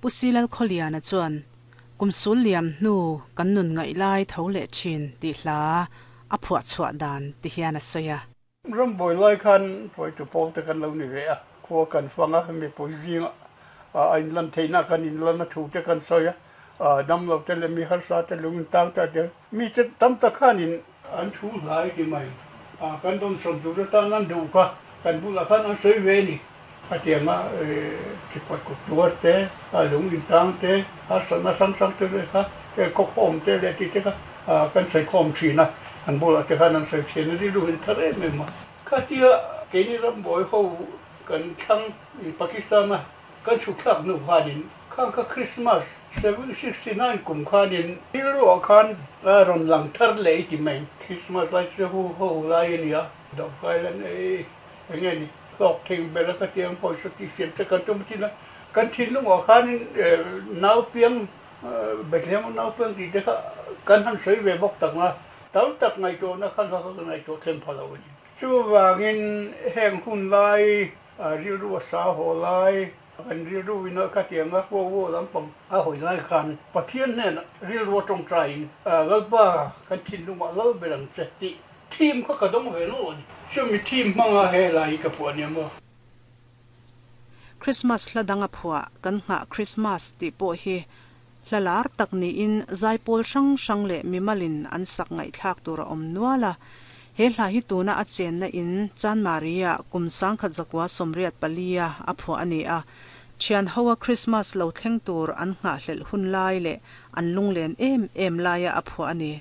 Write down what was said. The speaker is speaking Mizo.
Pu Silal Khawliana chuan, Kum sul liam hnu kan nun ngaih lai tho leh thin tih hla a phuah chhuah dan ti hian a sawi a. Rambuai lai khan hruaitu pawl te kan lo ni ve a, khua kan fang a, mipui zingah a inlan theihna kan inlan a thu te kan sawi a, damlo te leh mi harsa te lung intang ta te mi te tam tak khanin an thu hlai ti mai a, kan dawnsawm tur atan an duh kha kan bulah khan an sawi ve a ni. Hetianga thipawi kut tuar te, lung intang te, harsatna hrang hrang te kha khawkhawm te leh tih te kha kan sawi khawm thin a, an bulah te khan an sawi thin a, rilru in thar em em a. Khatia keini rambuai ho kan thlang Pakistan-a kan chhuk thlak hnu khanin khang kha Christmas 769 kum khanin rilruah khan a rawn lang thar leh i ti mai. Christmas lai chu hu ho lai a ni a, dawhkai lan ei eng nge ni hlawk thei ber a khatiang pawisa tih siam te kan tum thin a, kan thinlungah khanin nau piang Bethlehem nau piang tih te kha kan han sawi ve bawk tak a, tam tak ngaihtuahna khan kha ka ngaihtuah thleng pha lo a ni. Chuvangin heng hun lai rilru a sa haw lai, kan rilru in a khatiang a huau huau lampang a hawi lai khan Pathian hnenah rilru a tawngtaiin Lalpa kan thinlungah lal ber ang che tih theme kha ka dawng ve nawlh a ni. Chumi theme hmanga he lai hi ka phuah nia maw? Christmas hla dang a phuah kan nghah Christmas tih pawh hi hla lar tak niin zaipawl hrang hrang leh mimalin an sak ngaihthlak tur a awm nual a. He hla hi tuna a chenna in Chanmari-ah kum 1984-a a phuah a ni a. Thian hoa Christmas lo thleng tur an nghahhlelh hun lai leh an lunglen em em laia a phuah a ni.